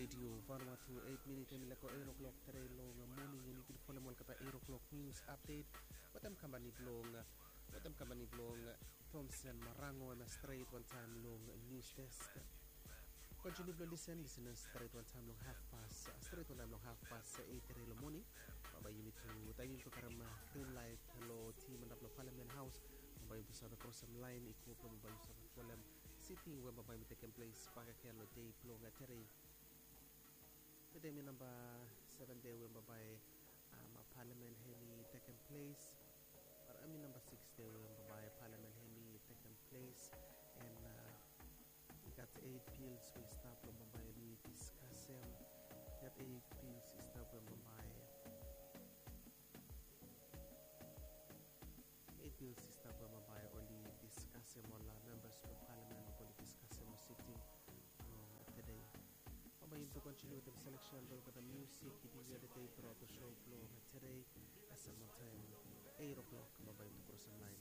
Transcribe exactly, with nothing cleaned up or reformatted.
Radio Vanuatu, eit minit hemi laik go eit o'clock tede long moning. Yumi bin folem olgeta eit o'clock news update wetem kampani blong wetem kampani blong Thomson Marango, hemia stret wantaem long news desk. Kontiniu blong lisen, lisen stret wantaem long hafpas, stret wantaem long hafpas eit tede long moning. Bambae yumi tu taem yumi tu karem green light long tim antap long Parliament Haos. Bambae yumi tu save krosem laen i go blong bambae yumi save folem siting we bambae yumi tekem ples bakegen long dei blong tede. Tede hemi namba seven dei we bambae Parliament hemi tekem ples. Bae hemi namba six dei we bambae Parliament hemi tekem ples. And i gat eit bills we i stap blong bambae yumi diskasem. I gat eit bills i stap we bambae eit bills i stap we bambae oli diskasem, ol members blong Parliament oli diskasem long siting blong tede. Bambae yumi tu kontiniu wetem seleksen blong olgeta musik i bin yia tede truaot long show blong tede. Kasem wantaem eit o'clock bambae yumi tu krosem laen